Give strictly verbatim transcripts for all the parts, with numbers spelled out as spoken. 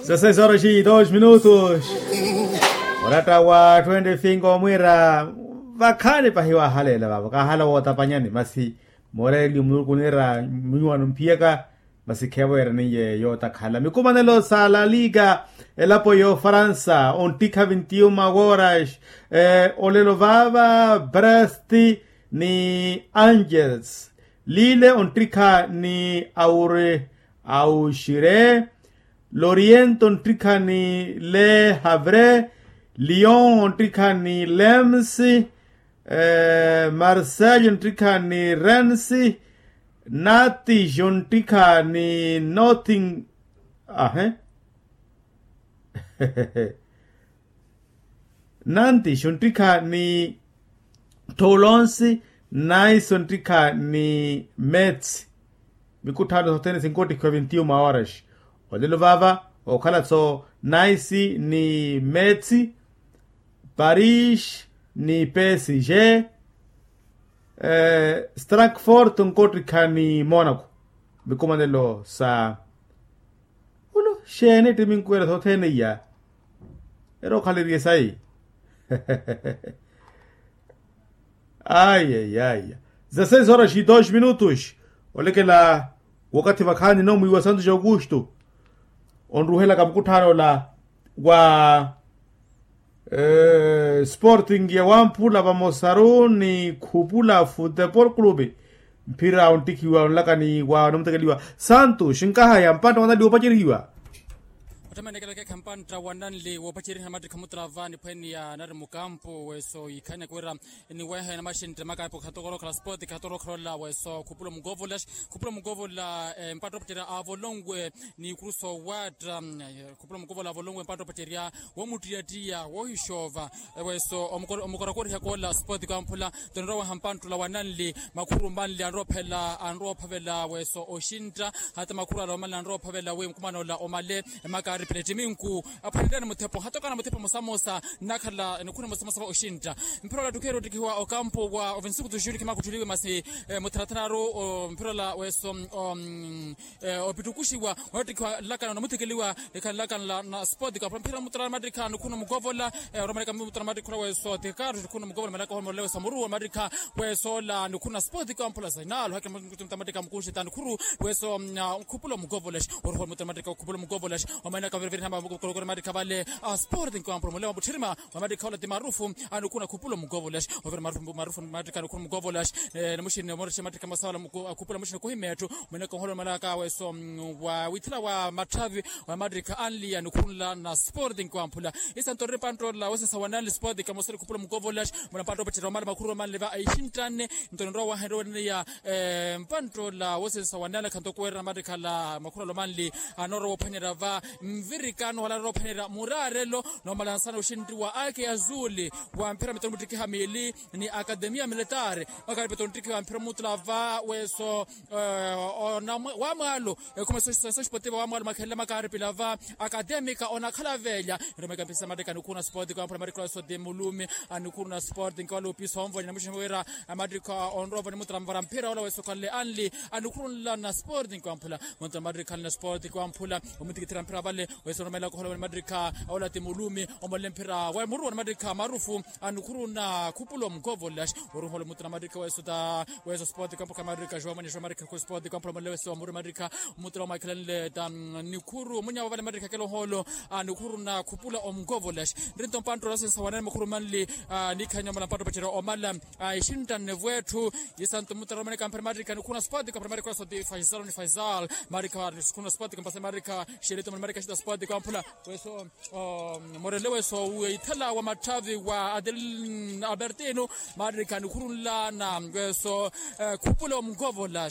Za seis horas e dois minutos. Oratta wa twenty-five omwiira vakhaani pahi wahalela vavo kahala wootapanyani masi mooreliyo muluku oniira miwano mphiyaka. Masi kheevo yeeraniye yootakhala mikumanelo sa la liga elapo y'ofaransa onttikha vintiuma woras. Olelo vaava brest ni angels lile onttikha ni aure auxire loriento onttikha ni le havre lyon onttikha ni lems marsello onttikha ni rensi nati jonttikha ni nothing ahe nanti xonttikha ni thoulonsi naiso nttikha ni metsi. Mikutthaano sothene sinkottikhiwa vintiuma horas olelo vaava okhala-tho naisi ni metsi paris ni psg strakfort nkottikha ni monaco. Mikumanelo sa ulu xeeni ettiminku ela sothene iya ero okhaleriye sayi. Ayayaya za seis horas e dois minutos olekela wakathi vakhaani nomwiiwa santos augusto onruhelaka mukutthaano ola wa sporting ya wamphula vamosaru ni khupula futebol clube mphira onttikhiwa onlakani wa onamutekeliwa santos nkahaya mpantta wananli woopacerihiwa. Ottamani ekelekekha mpantta wananli woopaceriha mmattikha muttala va niphwene ya nari mukampu weso yikhanya kuwira niwehe namaxintte makapo khatokorokhela sport khatokorokhela ola weso khupula omukovola khupula omukovola mpatta opacerya avolonwe ni kuruso watta khupula omukovola avolonwe mpatta opacerya woomuttiya-ttiya woohixoova weso omukorakorihaka ola sport kwamphula toniroowaha mpantta ola wananli makhuru manli anroophavela anroophavela weso oxintta hata makhuru ala omanli anroophavela wi mukumana ola omale emakaaripila ettiminku aphwanelani muthepo hatokana muthepo mosamosa nnakhala nikhuna mosamosa va oxintta mphira ola ttukheeri ottikhiwa okampo wa ovinsuku tuxuxuli khimakutthuliwe masi mutharathararu mphira ola weso opittukuxiwa onattikhiwa nlakano namuthikeliwa nikhala nlakano na sport kaphula mphira muttala mattikha nikhuna mukovola oromaneka muttala mattikha ola weso tikaru nikhuna mukovola malaka ohomolela weso muru wa mattikha weso ola nikhuna sport kwamphula zainalu hake muttala mattikha mukuxita nikhuru weso khupula omukovola oruhwa muttala mattikha khupula omukovola omanaka viriviri hama mukokorokore mattikha vale sport kwamphula mulema mutthirima wa mattikha ola ti marufu anukhuna khupula omukovola ovira marufu marufu mattikha anukhuna omukovola namuxini omorexe mattikha masawala khupula muxini kuhimetthu mwene konholo malaka weso wa withela wa matthavi wa mattikha anli anukhunla na sporting kwamphula isanto riri panttoolela wosinsa wananli sporting kamoseri khupula omukovola muna panttoopettera omali makhuru omanli va exinttane nto ninrowa wahenre weneniya mpanttoolela wosinsa wananli khanto kuwerera mattikhala makhuru alomanli anoora woophwanyerya va nvirikano wala anoora woophwanyerya muraarelo noomalansana oxintti wa ake azuli wa mphira mitoni muttikiha miili ni akademia militaari makaari mitoni muttikiha mphira muttula va weso wa mwaalo ekhuma soxipotiva wa mwaalo makhelela makaari pila va akademika onakhala veelya niromeka mpisa mattika anukhuna sport kwamphula mattikhala weso ti mulumi anukhuna sport nkawala opisa onvonya namuxini wira mattika onrovo ni muttula mvara mphira ola weso khanle anli anukhurunla na sport kwamphula muttula mattika khanle na sport kwamphula omutikithira mphira vale weso nromeela kohola wene mattika ola ti mulumi omolele mphira wa muruwa ni mattika marufu anukhuruna khupula omukovola oruhola muttula mattika weso ta weso sport kwamphula mattika jowa mwenye jowa mattika ku sport kwamphula omolele weso wa muruwa mattika muttula omwakhelanle ta nikhuru munyava vale mattika keloholo anukhuruna khupula omukovola nrinto mpanttoola sensa wanene mukhuru manli nikhanya omala mpanttoopacerya omala exinttane vwetthu isanto muttala omaneka mphira mattika nikhuna sport kwamphula mattika weso ti faisal ni faisal mattika nikhuna sport kwamphula mattika xelito mali mattika xita sport kwamphula weso morele weso withela wa matthavi wa adelin albertino mattika nikhurunla na weso khupula omukovola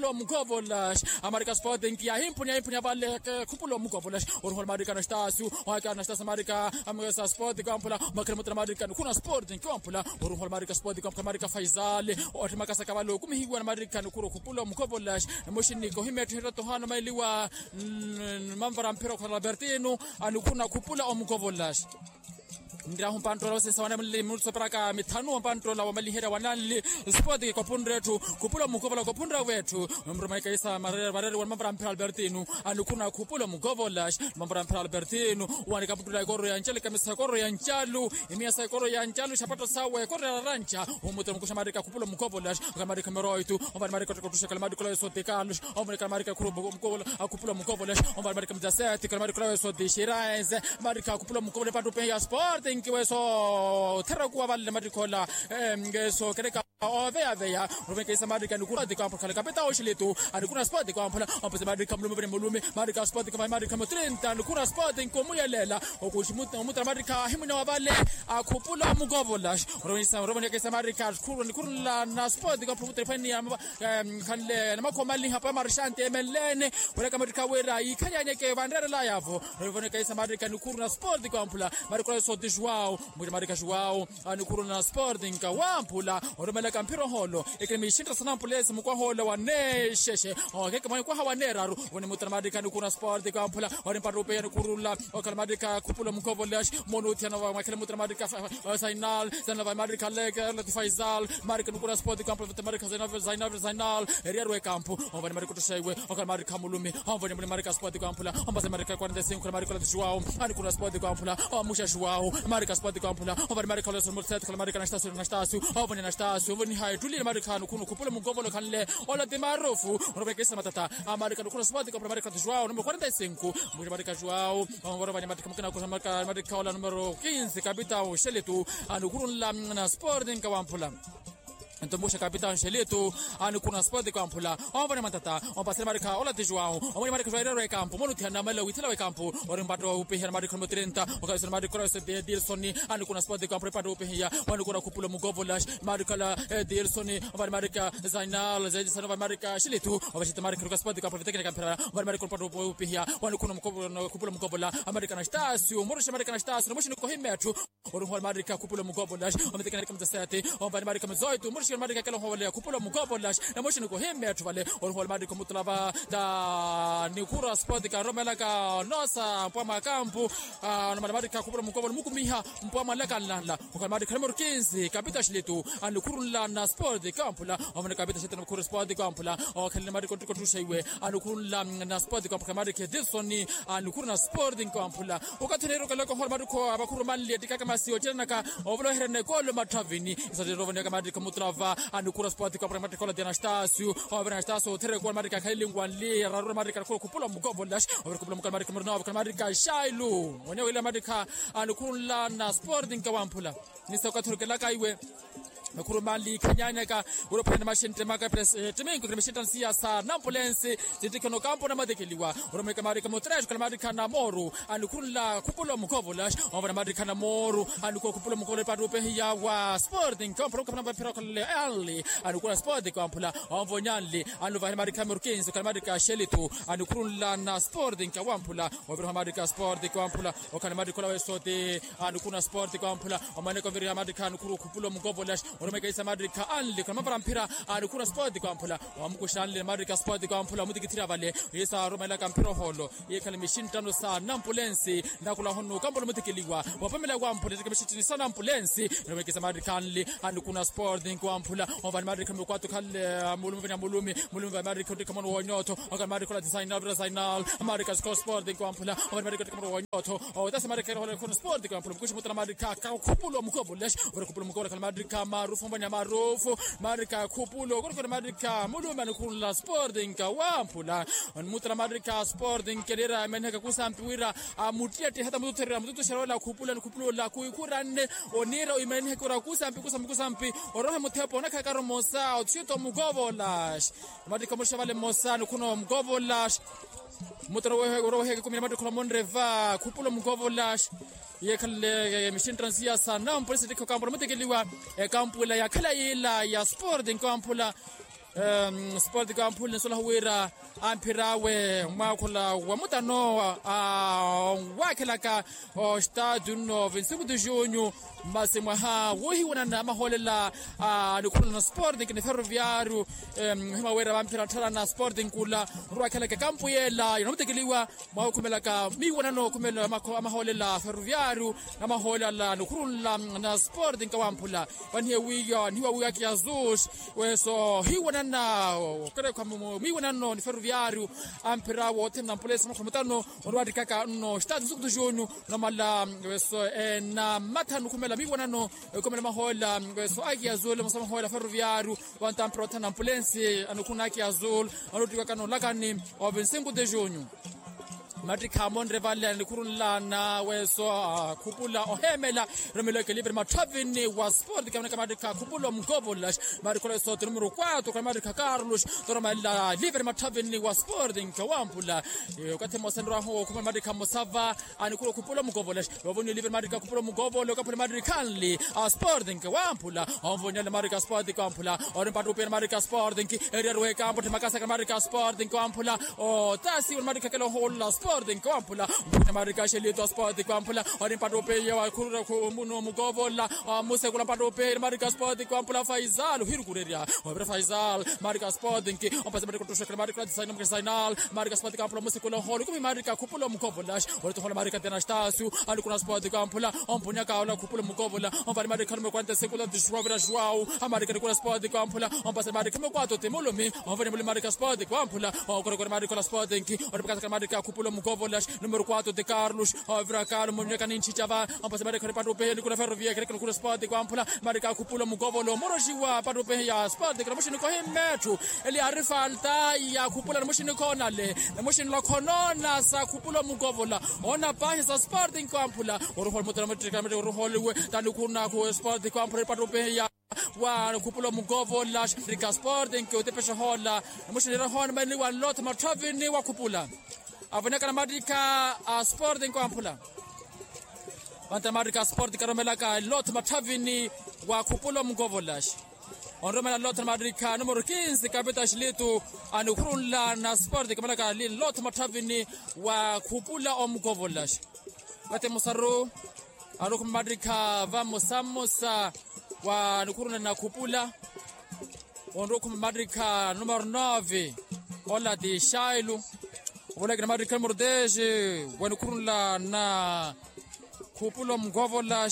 khupula omukovola. Amarika sporting yahimpuniya yahimpuniya vale khupula omukovola. Oruhula marika anastasi, waka anastasi marika amwesa sporting kamphula. Makhala mutala marika nikhu na sporting kamphula. Oruhula marika sporting kamphula marika faisal. Othi makasa kavale okumihiwa na marika nikhu okhupula omukovola. Emoxiniko himetho hiratohano mailiwa. Manvara mphira okhana albertino. Anikhuna khupula omukovola. Nrahu mpanttola osinsa wane mulili minutu soperaka mithanu mpanttola wamaliherya wananli. Spoti kopunre etthu khupula omukovola kopunre wetthu. Mrumeke isa marere vareri wa mavara mphira albertino. Anikhuna khupula omukovola. Mavara mphira albertino. Wanika mutula ekoro ya ncalu ikamisa ekoro ya ncalu. Imiya sa ekoro ya ncalu xapato sawe ekoro ya raranca. Omutela mukusha marika khupula omukovola. Kala marika meroitu. Omvani marika otukotusha kala marika ola weso tekalos. Omvani kala marika khupula omukovola. Akhupula omukovola. Omvani marika mudaseti kala marika ola weso tixiraense. Marika akhupula omukovola epattupe ya sporting weso thera kuwa vale marika ola. Ngeso kereka oveyaveya. Orovekesa marika nikura tikampula kala kapita oxilitu. Anikura sporting kamphula. Ompese marika mulume vene mulume. Marika sporting kamphula marika mutrinta nikura sporting komuyelela. Okuxi omutala marika ahimwina wa vale. Akhupula omukovola. Orovekesa marika khurula nikhurula na sporting kamphula mutala phani ya khanle na makho maliha pa marishante emenlene. Wuleka matthu khawira yiikhalyaneke vanreerela yavo. Rivoneka isa marika nikhuru na sporting kamphula. Marika ola sooti juwao. Mwira marika juwao. Anikhuru na sporting kawamphula. Orumeleka mphira oholo ekini mixintta sana mpulesi mukwaha ola wanexexe. Okeke mwanikwaha waneeraru. Woni mutala marika nikhuru na sporting kamphula. Wari mpattupe yanikhurula. Okhala marika khupula omukovola. Monuthiyana vamakhele mutala marika. Zainal zainal vamakhele marika leke lati faisal. Marika nikura spoti kamphula vete marika zainal zainal zainal. Eriyaru ekampu. Omvani marika otuxaiwe. Okhala marika mulumi. Omvani muli marika spoti kamphula. Ombase marika quarenta e cinco khala marika lati juwao. Anikura spoti kamphula. Omuxa juwao marika spoti kamphula. Omvani marika lati sumurset khala marika nastasio nastasio. Omvani nastasio omvani hayi tulile marika nikuru khupula mukovola khanle. Ola ti marufu. Onovekesa matata. Amarika nikuru spoti kamphula marika lati juwao numero quarenta e cinco. Muxa marika juwao. Orovani marika mukina kusa marika ola numero quinze kapita oxeletu. Anikhurunla na sporting kawamphula. Nto muxa kapita oxeletu. Anikhuruna sporting kawamphula. Omvani matata ompasele marika ola ti juwao. Omwini marika juwao erero ekampu monuthiyana mala withela wekampu. Ori mpatto upihiya na marika numero trenta. Okalisona marika ola wesete dilsoni. Anikhuruna sporting kawamphula mpatto upihiya. Wanikura khupula mukovola. Marika ola dilsoni. Omvani marika zainal zainal omvani marika xeletu. Ovexete marika nuka sporting kawamphula vitekene kamphela. Omvani marika mpatto upihiya. Wanikhuna khupula mukovola. Amarika nastasio muruxe marika nastasio namuxini kohimetthu. Oruhola marika khupula mukovola. Omitekene marika mudasete. Omvani marika muzoitu muruxe marika kela ohovola khupula mukovola. Namuxini kohimetthu vale. Oruhola marika mutulava. Ta nikhura sporting karomelaka nosa mpwa mwakampu. Onomala marika khupula mukovola mukumiha. Mpwa mwalaka nlanla. Okhala marika numero quinze kapita xilitu. Anikhurunla na sporting kamphula. Omvani kapita xilitu namukhura sporting kamphula. Okhalele marika otukotuxa iwe. Anikhurunla na sporting kamphula marika edilsoni. Anikhuru na sporting kamphula. Okathi oneerukelaka ohola marika avakhuru manli ettikaka masi ocerenaka. Ovola oherene ekolo matthavini. Isatirira ovoneka marika mutulava. Anikhuru na sporting kamphula marika ola ti anastasio. Ovira anastasio otherekola marika akhalili nwanli ararura marika anikhuru khupula mukovola. Ovira khupula mukovola marika murina ovira marika shailu. Wene wila marika. Anikhurunla na sporting kawamphula. Nisa okathi orukelaka iwe. Makhuru manli khanyaneka. Urophene maxintte maka pres timinko kiri maxintta nsiyasa nampulensi. Sittikheno kampo namatekeliwa. Uromeka marika mutresh kala marika na moru. Anikhurunla khupula mukovola. Omvana marika na moru. Anikhuru khupula mukovola epattupe hiya wa sporting kamphula mukapana mapira khalele anli. Anikhuru na sporting kamphula. Omvonyanli. Anluvahene marika murkinsi kala marika xelitu. Anikhurunla na sporting kawamphula. Ovira marika sporting kawamphula. Okhana marika ola wesoti. Anikhuru na sporting kawamphula. Omaneka ovira marika anikhuru khupula mukovola. Oromekehisa matrikha anli khuna mavara mphira. Anikhuuna sport kwamphula. Wamukuxa anli matrikha sport kwamphula omutikithirya vale. Yesa aromelaka mphira ohoolo. Yekhale mixinttano sa nampulensi nakhula hono kampula omutikiliwa. Wapamela kwamphula etteke mixinttano sa nampulensi. Oromekehisa matrikha anli. Anikhuuna sport kwamphula. Ovani matrikha mukwato khale mulumi vanya mulumi. Mulumi va matrikha ottikha mono wonyotho. Okale matrikha ola tisainal vira sainal. Matrikha score sport kwamphula. Ovani matrikha ottikha mono wonyotho. Otasi matrikha erohola khuna sport kwamphula mukuxi mutala matrikha. Kakhupula omukovolex. Vira khupula omukovolex khale matrikha marufu mbanya marufu. Matrikha khupula okorokore matrikha mulumi anikhunla sport nkawamphula. Onimutala matrikha sport nkeliera emeniheka kusampi wira amuttiyattihata mututherera mututuxera ola khupula nikhupula ola khuikhuranne. Oniira oimeniheka wira kusampi kusampi kusampi. Orohe muthepa onakhakarya omosa othiyota omukovola. Matrikha omuxa vale mmosa nikhuna omukovola. Mutano wehe uro wehe ekumina matikhu na monreva khupula omukovola. Yekhalele mixinttano siya sa nampulensi ettikha ekampula mutikiliwa. Ekampula yakhala yiila ya sport nkawamphula. Sport nkawamphula ninsolaha wira amphir'awe mwaakhola wa mutano owakhelaka ostadio nno vinti cinco de junho. Masi mwaha wohiwanana amahoolela a nikhulana sport nkini ferroviario. Ohima wira vamphira ntthara na sport nkula. Nrwakhelaka ekampu yeela yanamutikiliwa mwaha okhumelaka miiwanano okhumela amahoolela ferroviario. Namahoolela nikhulunla na sport nkawamphula. Vanihiye wiya nihiwa wiya kiasus weso hiwanana okerekha miiwanano ni ferroviario. Amphira wothene na mpulesi mwakhula mutano onrwattikaka nno stadio sukutu junho. Namala weso ena mathanu khumela miiwanano. Ekhumela mahoolela weso aki azul mosa mahoolela ferroviario. Vantamphira othana ampulensi anikhunaki azul anottiwaka nolakani. Ovinsinkuti junho. Mattikha amonre vale anikhurunlana weso akhupula oheemela. Romelo ekelipe ni matthavini wa sport kamanaka mattikha akhupula omukovola. Marikola esoti numero quatro kana mattikha carlos. Toromalela elipe ni matthavini wa sport nkawamphula. Okathi mmosa nirwahu okhumela mattikha mmosa va. Anikhula okhupula omukovola. Ovoniwa elipe ni mattikha akhupula omukovola okaphula mattikha anli. A sport nkawamphula. Onvoniwa eli mattikha a sport nkawamphula. Ori mpattupe ni mattikha a sport nki. Eriaruwe ekampo ttimakasaka ni mattikha a sport nkawamphula. Otasiwa ni mattikha kela ohoolola a sport nkawamphula. Mpattupe ni mattikha a xelito a sport nkawamphula. Ori mpattupe ya wakhurura khumunu omukovola. Musekula mpattupe ni mattikha sport nkawamphula faisal ohirukurerya. Ovira faisal mattikha sport nki. Ompasi mattikha ottoxekela mattikha atisaina mukina sainal. Mattikha sport nkawamphula musekula ohoolo kumi mattikha akhupula omukovola. Oritohola marika ti anastasio. Anikuna sport kwamphula. Ompunyaka ola khupula mukovola. Omvani marika numero quarenta e cinco la tixuwa vira juwau. Amarika nikuna sport kwamphula. Ompasa marika numero quatro ti mulumi. Omvani mulumi marika sport kwamphula. Okorokore marika ola sport nki. Onipakasaka marika khupula mukovola. Numero quatro ti carlos. Ovira carlos munyaka ninchichava. Ompasa marika nipattupe nikuna ferrovia kereka nikuna sport kwamphula. Marika khupula mukovola omoroxiwa pattupe ya sport kira muxinikohi mmetthu. Eli ari falta ya khupula namuxinikoonale. Namuxinila khonona sa khupula omukovola. Ona pahi sa sport nkawamphula. Oruholi mutala muttikala mutti oruholiwe. Tanikhuna khu sport nkawamphula ipattupe ya wa khupula omukovola. Rika sport nki otepexa hoola. Namuxinira hoona mani wa nlotha matthavini wa khupula. Avoneka na mattikha a sport nkawamphula. Vantala mattikha a sport karomelaka nlotha matthavini wa khupula omukovola. Onromela nlotha na mattikha numero quinze kapita xilitu. Anikhurunla na sport kamalaka nlotha matthavini wa khupula omukovola. Vate musaru. Arukhuma mattikha va mmosa mmosa wa nikhurunla na khupula. Onrukhuma mattikha numero nove. Ola ti xailu. Ovolakina mattikha numero dez. Wa nikhurunla na khupula omukovola.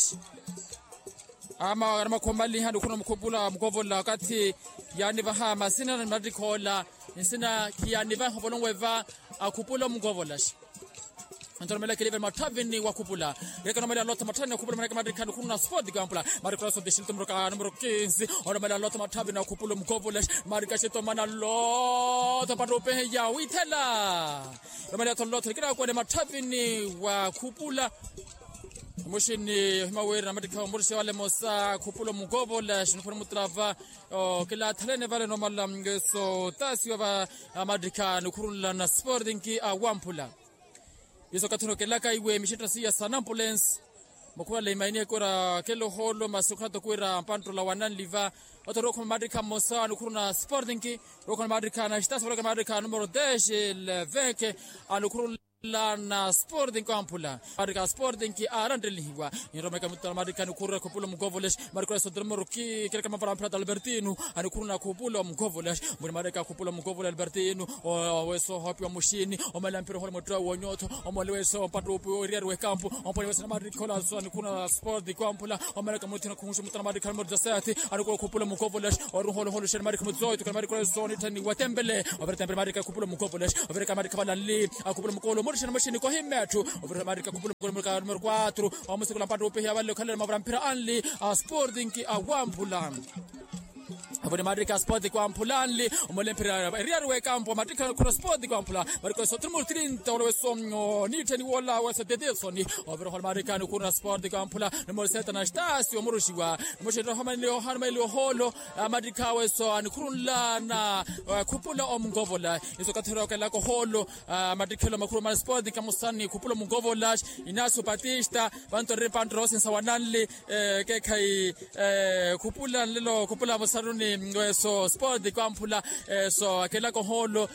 Ama anamakhuwa maliha nikhuna mukhupula mukovola wakathi. Yaanivaha masina na mattikha ola. Nsina khiyaanivaha ovolonwe va akhupula omukovola. Antoromela kelive matthavini wakhupula. Yekanomela lotha matthavini wakhupula maneke mattikha nikhuna sport kampula. Marikola sotixili tumoroka numero quinze. Onomela lotha matthavini wakhupula mukovola. Marika xitomana lotha pattupe ya withela. Nomela tho lotha kinakwene matthavini wakhupula. Muxini ohima wira na mattikha omurisi wale mosa khupula omukovola xiniphuna mutrava. Kilathalene vale nomala ngeso tasiwa va. Mattikha nikhurunla na sport nki awamphula. Iso kathi onokelaka iwe mixintta siya sa nampulensi. Mukhuwale imaini ekura kelo holo masi okhata okwira mpanttola wananliva. Oto rokhoma mattikha mmosa nikhuruna sport nki. Rokhoma mattikha na xitasi voloka mattikha numero dez. Leveke. Anikhurunla Lana sporting kwamphula marika sporting aranttelihiwa. Niromeka mutala marika nikhurura khupula mukovoles marika sotromoro ki kereka mavara mphira talbertino. Anikhuruna khupula mukovoles muni marika khupula mukovoles albertino. Oweso hopiwa muxini omala mphira ohole muttewa wonyotho. Omole weso mpattupi oriyari wekampu omponi weso na marika olaso anikhuruna sporting kwamphula. Omalaka muthina khuhuxu mutala marika mori doseti. Anikhuruna khupula mukovoles oruholoholo xeni marika muzoito kana marika olaso nitthani watempele. Ovira tempele marika khupula mukovoles. Ovira ka marika valanli akhupula mukolo murixana muxini kohimetthu. Ovira marika khupula mukolo murika numero quatro. Omusikula mpattupi hiya valle okhalela mavara mphira anli a sporting a wamphula. Avoni marika sporting kwamphula anli. Omole mphira eriyari wekampu matikha khura sporting kwamphula. Marika weso trimur trinta oloweso nittheni wola weso dedesoni. Ovira ohola marika nikhuruna sporting kwamphula. Numero seta na stasi omuruxiwa. Muxini ohoma nili ohano maili oholo. Amattikha awe so anikhurunlana khupula omunkovola. Iso okathi ori okelaka oholo. Amattikhelo makhuru mani sporting kamusani khupula omunkovola. Inacio batista vanto ri pantrosinsa wananli. Kekhayi khupula nlelo khupula musaruni. Weso sporting kwamphula. So akelaka oholo.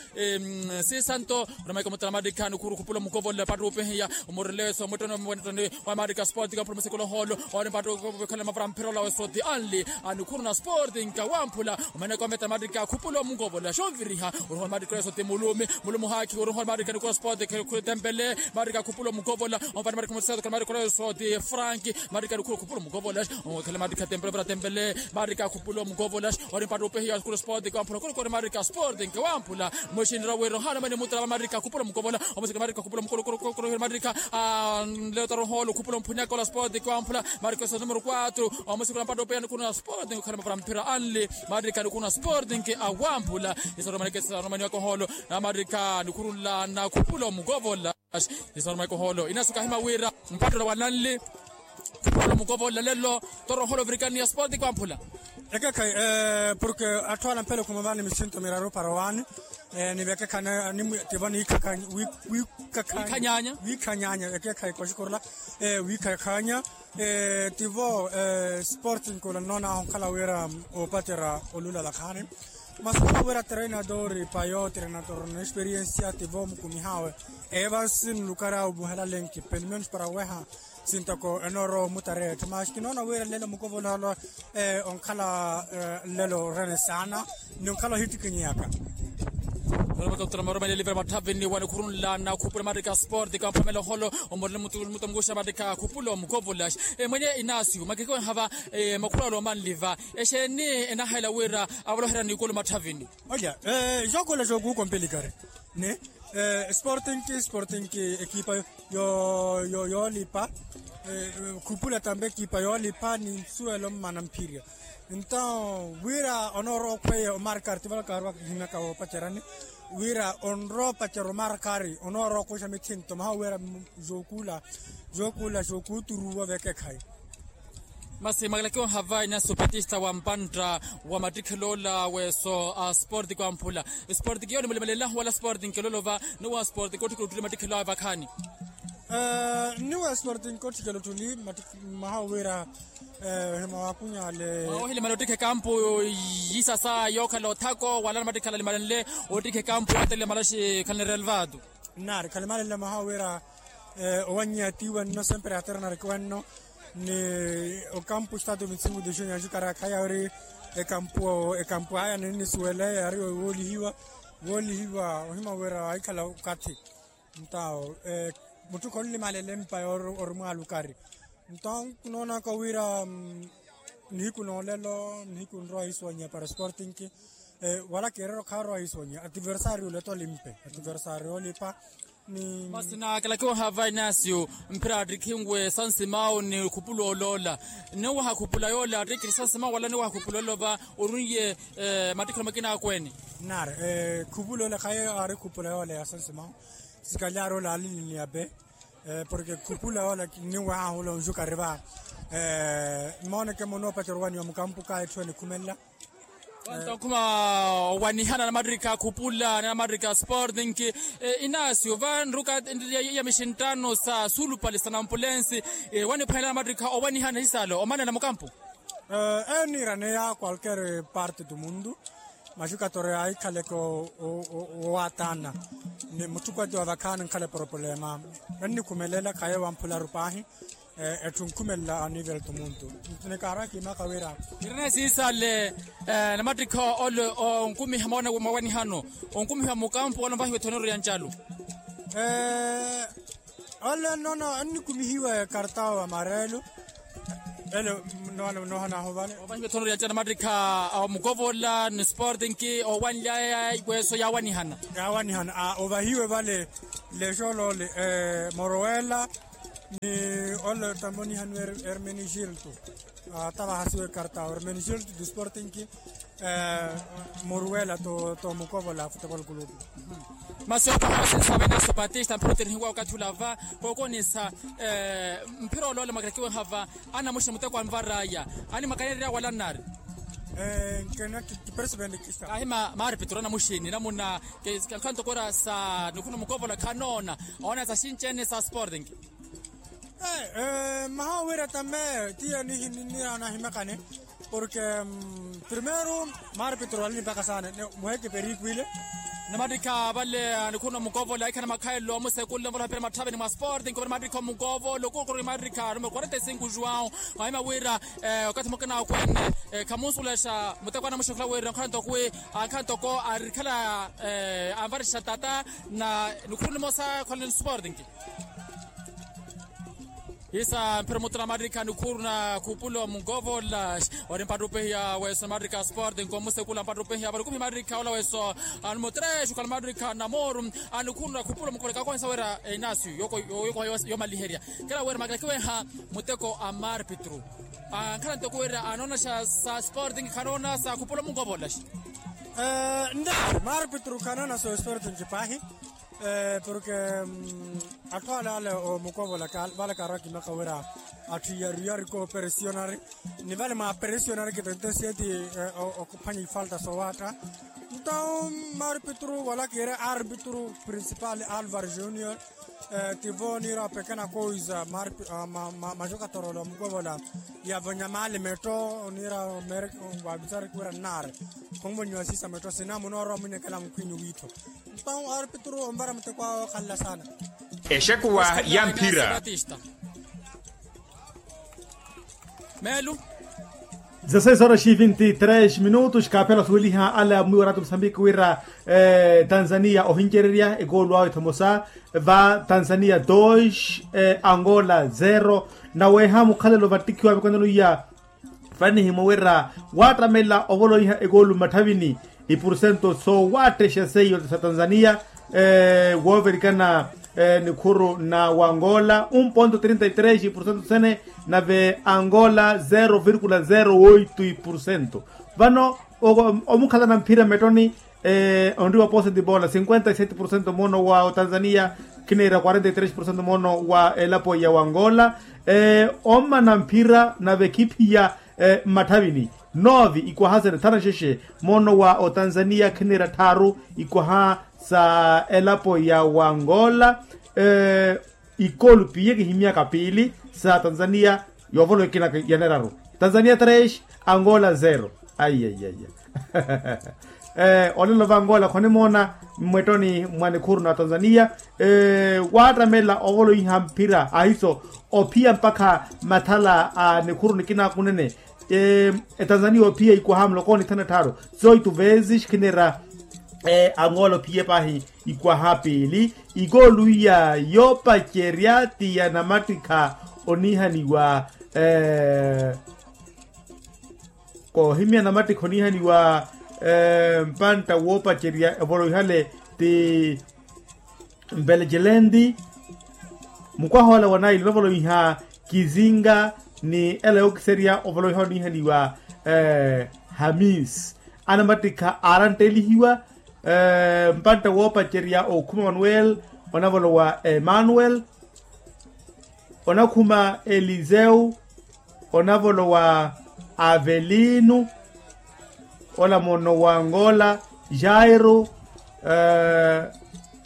Sisanto onamaika mutala matikha nikhuru khupula omunkovola pattupi hiya. Omureleso muttoni omuwenetoni wa marika sporting kwamphula musikula oholo. Ori mpattupi khala mavara mphira olawe soti anli. Anikhuruna sporting kwamphula. Omaneka ometala matikha khupula omunkovola xonviriha. Oruhola matikha olawe soti mulumi mulumi haakhi oruhola matikha nikhuruna sporting khuli tempele. Matikha khupula omunkovola. Omvani matikha museto khala matikha olawe soti frank. Matikha nikhuruna khupula omunkovola. Okhale matikha tempele ovira tempele. Matikha khupula omunkovola. Ori mpattupi hiya khula sporting kwamphula khuli kori matikha sporting kwamphula. Muxinira wira ohana mani mutala matikha khupula omunkovola. Omusika matikha khupula omunkovola. Matikha nleyo taruhola okhupula omphuni akola sporting kwamphula. Marika eso numero quatro. Omusikula mpattupi anikhuruna sporting okhala mavara mphira anli. Marika nikhuruna sporting awamphula. Isaromaneke isaromaniyaka oholo. Na marika nikhurunlana khupula omukovola. Isaromaneke oholo inasuka hima wira mpattola wananli. Khupula omukovola lelo. Torohola ovirikaniya sporting kwamphula. Ekekhayi. Porke atthu ala mphele khumavani misinto miraru para owaani. Ni vekekhayi tivo ni wiikhanyanya. Wiikhanyanya ekekhayi koxikorela. Wiikhakhanya. Tivo sporting kula nnoon'ahu onkhala wira opacerya olulala khaani. Masi onkhala wira treinador payo treinador na experiensia tivo mukumihawe. Evansi nlukari awe omuhela lenki pelo menos para weha. Sintoko enoorowa omutareya etthu masi kinoona wira lelo mukovoloholo. Onkhala lelo orene saana ni onkhala ohittikinyeyaka. Oromaka kutula maromeleli vira mathavini wanikhurunlana khupula matikha sporting kwamphula meloholo. Omorele mutu mutu mukuxa matikha khupula omukovola. Mwenye inasio makeke wenhava makhuralo omanliva. Exeeni enahela wira avoloherya nikulu mathavini. Olya. Xookuula xookuukompelikari ni sporting sporting ekipa yoolipa. Khupula tambe ekipa yoolipa ni nsuwelo mmana mphirya. Nto wira onoorowa okhweye omarkari tivalakaari wakihinyaka woopacerani wira onrowa opacerya omarkari onoorowa okhuxa mithinto maha wira xookuula xookuuturuwa vekekhayi. Masi mwakalakiwa hava inasi opatista wa mpantta wa mattikheloola weso a sporting kwamphula. Sporting yooni mulimalela wala sporting kelolova ni wa sporting kotthikela ottuli mattikheloola vakhaani. Ni wa sporting kotthikela ottuli maha wira ohima wakunyale. Ohilimala ottikha ekampu yisasa yookhala othako wala na mattikhala limalenle ottikha ekampu yoottelela malaxi khalinirelvatu. Nari khalimalenle maha wira owanyiya tiiwa nno sempre aterna rikiwa nno. Ni okampu estatu vinti cinco de junho anjukara khaya ori ekampu ekampu aya ninisuwele yari woolihiwa woolihiwa ohima wira ahikhala okathi. Ntawo mutthu khonlimalele mpa ori mwaalukari. Nto noonaka wira nihiku noolelo nihiku nrowa hisonya para sporting wala kerero kharowa hisonya ativersario leto limpe ativersario lipa. Ni masi na kalakiwa hava inasio mphira attikhinwe sansimao ni khupula oloola. Niwaha khupula yoola attikhiri sansimao wala niwaha khupula olova orunye mattikhiro makina akweene. Nari khupula yoola khaye ari khupula yoola ya sansimao. Sikali ari ola aliliniya pe porke khupula yoola niwaha hula onjukari va. Mooneke muno opatero waniwa mukampu ka etthu enikhumelela. Wanto okhuma owanihana na mattikha khupula na mattikha sporting. Inasio va nruka ya mixinttano sa suulupale sa nampulensi waniphwanela na mattikha owanihana hisalo omanela mukampu. Eniiraneya qualquer parte do mundo. Maxukatorya ahikhaleke owaatanna ni mutthu kwati wa vakhaani nkhala eproplema. Ennikhumelela khaye wamphularu paahi. Etthu nkhumelela anivel tumuntu. Nikaarwa kiimaka wira irina esiisale namattikha ole onkumiha mawanihano onkumiha mukampu wala onvahiwa ethonero ya ncalu. Ole nono ennikumihiwa ekartao amarelo. Ele nohanaho vale. Ovahiwa ethono lya ncana mattikha a mukovola ni sporting owanlyaya ikweso yawanihana. Yawanihana ovahiwe vale. Lexolole moruwela ni ole tamonihanwe ermenigilto. Tavahasiwa ekartao ermenigilto du sporting. Muruwela to mukovola futebol kulupu. Masi okoha osinsa veneso patista mphira oterihiwa okathi olava kookonisa. Mphira olole mwakirakiweha va anamuxina muteko anvaraya animwakanereya wala nnari. Nkena kiperesipenti kista ahi maari petro anamuxini namuna. Kankhanto kura sa nikhuna mukovola khanoona oona sa xinci ene sa sporting. Maha wira tambe tiya nihimimira nahimekane. Porke primero maari petro wala nipaka sana muheke perikwile. Namattikha vale anikhuna mukovola ikhana makhaelo amusekulle mvola hapira mathaveni mwa sporting kuvira mattikha mukovola okukuru mattikha numero quarenta e cinco juwao. Mahima wira okathi mukina akwene khamunsulexa mutekwana muxukhula wira nkhanto kwi ankhanto ko arikhala anvarixa tata na nikhuru nimosa khwalani sporting. Isa mphira mutuna mattikha nikhuru na khupula omukovola. Ori mpattupehiya weso mattikha sporting komusekula mpattupehiya valukumihi mattikha ola weso. Anumutrexe okhala mattikha namoru anikhuru na khupula omukovola kakohisa wira enasio yomaliherya. Kela wira makelakiweha muteko a marpitru. Ankhala ntoko wira anoona xa sa sporting khanoona sa khupula omukovola. Nde marpitru khanoona sa sporting paahi. Porke atthu ale ale omukovola vale kaarwa kimaka wira atthu iyariyari kooperesionari ni vale mwa peresionari kitentesiyeti. Okuphwanya ifalta sowaatta nto marpitru wala kiire arpitru principal alvar junior. Tivo niira opekena kowiza maxokatorola omukovola yavonyamali metto niira mere wavisari kiwira nnaari khonvonyiwa siisa metto sina munoorowa mwinyekela mukhwinyu wiittho. Mpawu arpitru onvara muteko awo okhalela saana. Exekuwa ya mphira. Meelu. Dezasseis horas e vinte e três minutos kaaphela osuweliha ale amwiwa ratu musambiki wira tanzania ohincererya ekoolu awe thomosa va tanzania dos angola zero. Naweeha mukhalelo vattikhiwa mikonelo iya. Vannihimwa wira waattamela ovoloiha ekoolu mmatthavini. Ipurcento soowattexa seiyo sa tanzania wooverikana nikhuru na wangola um ponto trinta e três ipurcento sene. Nave angola zero virkula zero oito ipurcento. Vano omukhalana mphira mmettoni onriwa pooseti bola cinquenta e sete purcento moono wa otanzania khiniira quarenta e três purcento moono wa elapo ya wangola. Ommana mphira nave khiphiya mmatthavini novi ikwaha sene thanu exexe moono wa otanzania khiniira tthaaru ikwaha sa elapo ya wangola. Ikolu piye kihimyaka piili sa tanzania yoovolowa ekina ya neraru. Tanzania tres angola zero. Aiyaiya. Olelo va angola khonimoona mmwettoni mwa nikhuru na tanzania waattamela ovoloiha mphira ahiso ophiya mpakha mathala a nikhuru nikina kunene. Etanzania ophiya ikwaha muloko ni thanu ettharu zoito vezes khiniira angola ophiye paahi ikwaha piili. Ikoolu iya yoopacerya ti ya namattikha onihaniwa koohimya namattikha onihaniwa mpantta woopacerya evoloihale ti mpelejelendi. Mukwaha ola wa naili onavoloiha kizinga ni ela yookiserya ovoloiha onihaniwa hamis. Anamattikha aaranttelihiwa mpantta woopacerya okhuma manuel onavolowa emmanuel onakhuma eliseu onavolowa avelino ola moono wa angola jairo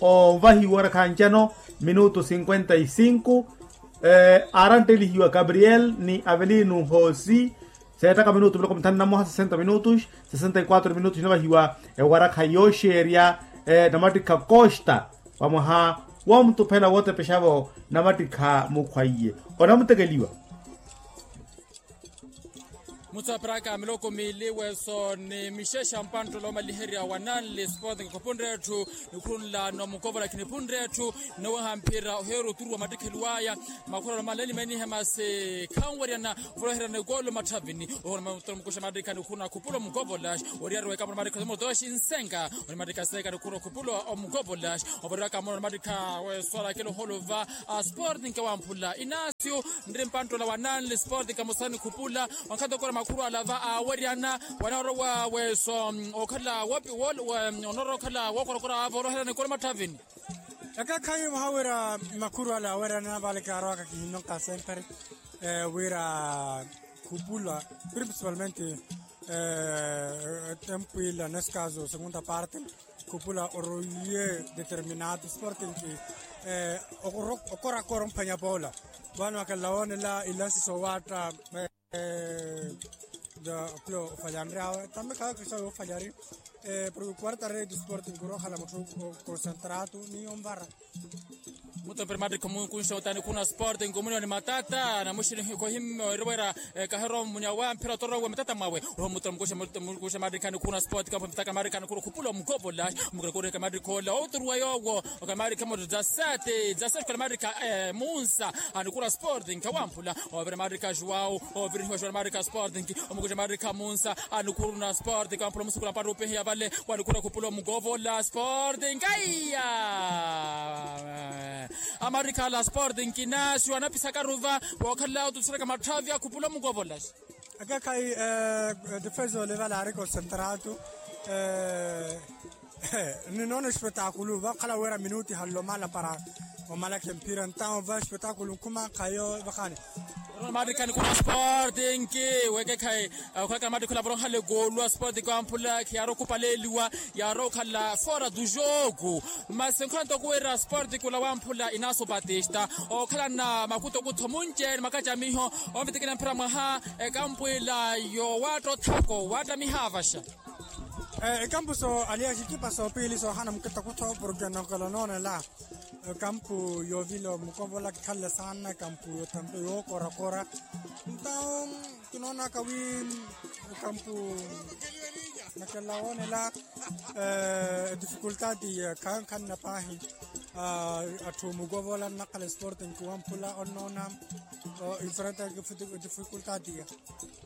ovahiwa orakhanjano minuto cinquenta e cinco. Aaranttelihiwa gabriel ni avelino hosi Seettaka minutu miloko mithanu na mmoha sesenta minutus. Sesenta y quatro minutus inawahiwa ewarakha yooxeerya namattikha costa wa mwaha woomutuphela wootepexavo namattikha mukhwaiye onamutekeliwa. Mutsapiraka miloko miili weso ni mixexa mpanttolo omaliherya wa nanli sport nkhupunre etthu. Nikhunlano mukovola khiniphunre etthu. Nnoweha mphira oheera oturuwa mattikheliwaya makhuralo maleli meenihe masi khanweryana. Ovoloherana ekolo matthavini ohono mukuxa mattikha nikhuna khupula omukovola. Oriyari wekapona mattikha omotoxi nsenka. Onimattikha nsenka nikhuna khupula omukovola. Ovoriraka mono onimattikha weswala akelo holo va sport nkewamphula inasio. Nri mpanttola wa nanli sport nkamusani khupula. Wankhanto okora makhuru ala va aweryana wanarowa weso okhala wopi onorowa okhala wookorakora ava oroherana ekolo matthavini. Ekekhayi muhawira makhuru ala awerana vale kaarowaka kihinonka sempre wira khupula principalmente tempu ila nesse caso segunda parte khupula oroiye determinado sporting ki okorakora omphwanya pola vano akalawanela ilansi sowatta. Kula ofalyanryawe tambe khawe kristo awe ofalari. Porque quarta rede sporting kurokhala mutthu concentrado ni yonvara. Mutompere mattikho mukunxa otani khuna sporting omuniwa ni matata namuxini kohimme oirowera. Kahirowa munia wa mphira otorowe matata mwawe. Roho mutompere mukunxa mattikha nikhuna sporting kampo mitaka mattikha nikhuna khupula omukopola. Mukurekureka mattikha ola oturuwa yowo okamarikha mutto dza sete dza sete okamarikha munsa. Anikura sporting kawamphula ovira marika juwau. Ovirihiwa juwau marika sporting omukuja marika munsa. Anikuru na sporting kawamphula omusukula mpatto opehiya vale. Wanikura khupula omukovola sporting aiya. Amarika ala sporting kinasio anapisaka ruva. Wokhala otusereka matthavi akhupula omukovola. Akekhayi defense ole vale ari concentrado. Ninoona espetaakulu vakhala wira minuti hallo mala para omalakha emphira entawo va espetaakulu nkhuma khayo vakhani. Matikha nikuna sporting wekekhayi. Okhweka matikha ola vorohala ekolu a sporting wamphula khiyaari okhupaleliwa. Yaari okhala fora du jogo. Masi nkhwanto okuwira sporting ola wamphula inaso batista okhalana makuto okutho munce ni makacamiho. Omvitikina mphira mwaha ekampwila yowaatta othako waatta mihaavaxa. Ekampu so aliya xikipa sopiili soohana mukita kutho porke nokela noonela. Ekampu yoovila omukovola kikhalle saana ekampu yotampe yookorakora. Ntawo kinoonaka wi ekampu nokela woonela edifikultati ya khankhanna paahi. Atthu mukovola nnakhala esporte nkiwamphula onnoona. Enfrenta edifikultati ya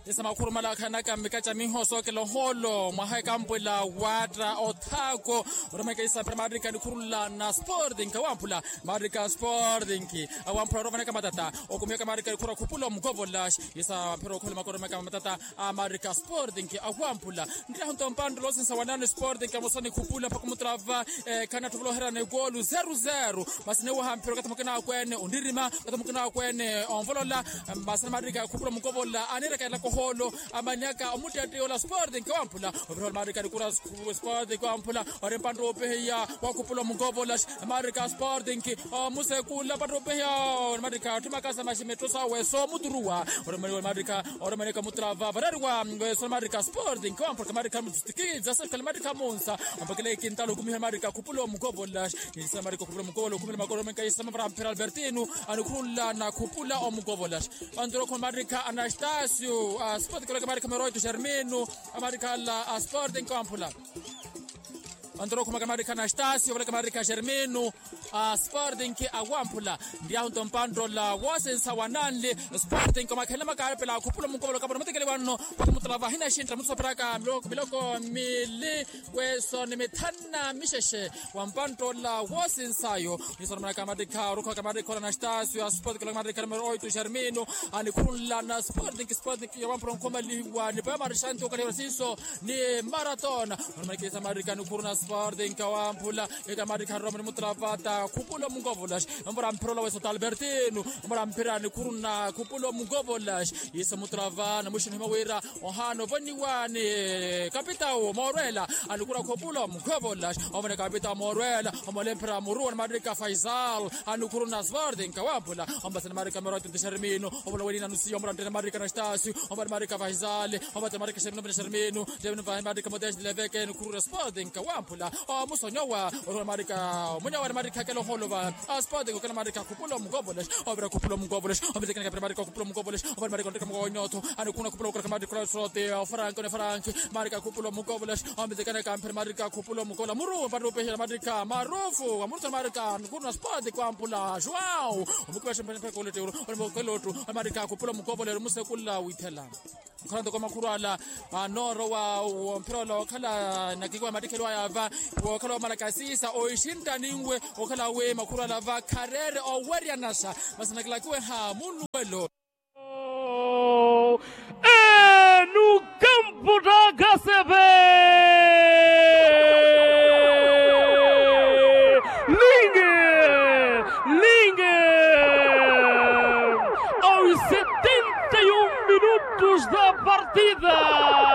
esa makhurumala akhanaka mmikaca miho sookela ohoolo mwaha ekampwela waatta othaako. Oramweka isaphira maarika nikhurula na sporting kawamphula. Maarika sporting awamphula oromaneka matata. Okumiyaka maarika nikhura khupula omukovola. Isa mphira okhola makoromeka matata. A maarika sporting awamphula. Nttirahu nto mpanttolo osinsa wanano sporting kamusani khupula mpakha omutrava. Khana atthu ovoloherana ekolu zeru zeru. Masi newaha mphira okathi mukina akweene onririma okathi mukina akweene onvolola. Masi namarika khupula mukovola anirekerela kohoolo. Amanyaka omuttettei ola sporting kawamphula. Ovira ola marika nikura sporting kawamphula. Ori mpantta opehiya wakhupula mukovola. Marika sporting omusekula mpantta opehiya. Marika atthimaka sa maxi metto sawe soomuturuwa. Ori marika omutrava varariwa. Weso marika sporting kawamphula kamarika muttikidza sefika marika munsa. Ampakela ikintala okumiha marika khupula omukovola. Nisa marika okhupula omukovola okhumela makolo menka isama para mphira albertino. Anikhunla nakhupula omukovola. Anturokho marika anastasio asporting koleka marika meroito germino. Amarika ala asporting kawamphula. Anturokho maka marika anastasio koleka marika germino. Asporting awamphula. Ndiyahu nto mpantola wosinsa wananli. Sporting komakhenle makarepela akhupula omukovola kapona mutekeli wanno. Pakumutula vahina xintta mutsopheraka miloko mili. Kweso ni mithanu na mixexe wa mpantta ola woosinsayo. Nisoromana kamatikha orukhwa kamatikha ola na stasio a sporting ola kamatikha numero oito germino. Anikhunla na sporting sporting yowamphula onkhomaliwa ni paya marishanti okaliwa sinso ni maratona. Onomanikisa marika nikhuru na sporting kawamphula. Eka marika roma ni mutravata. Khupulo mukovolaxi. Ombora mphira olaweso talbertino. Ombora mphira nikhuruna khupulo mukovolaxi. Iso mutrava na mwishi nihima wira ohaana ovoniwani kapitau moorwela. Anikhuruna khupulo mukovolaxi. Ovone kapitau moorwela. Omole mphira muruwa ni marika faisal. Anikhuruna sporting kawamphula. Ombasani marika mero tente xermino. Ovona wenina nusiyo ombora ntene marika na stasio. Ombani marika faisal. Ombasani marika xermino. Xermino. Xermino marika modeste leveke nikhuruna sporting kawamphula. Omusonyowa. Omunyawa ni marika akela oholova. Aspode kokela marika khupulo mukovolaxi. Ovira khupulo mukovolaxi. Ovitekena kapira marika khupulo mukovolaxi. Ovira marika onrika mukowa nyotho. Anikhuna khupulo mukovolaxi marika khupulo mukovolaxi. Ofaranki one faranki. Marika khupulo mukovolaxi. Ovitekena kampira marika khupulo mukola muru mpari upexela marika marufu. Amurutha marika anikhuna aspode kwampula joao. Omukivaxi mpari mpari koletero. Omukelotu. Marika khupulo mukovolero musekula withela. Okhala ntoko makhuru ala. Anoorowa womphira ola okhala nakikiwa matikhelwaya va. Wokhala wamalaka siisa oixintta ninwe. Okhala wi makhuru ala va khareere oweryanasa. Masi nakilakiwe ha munnuwelo.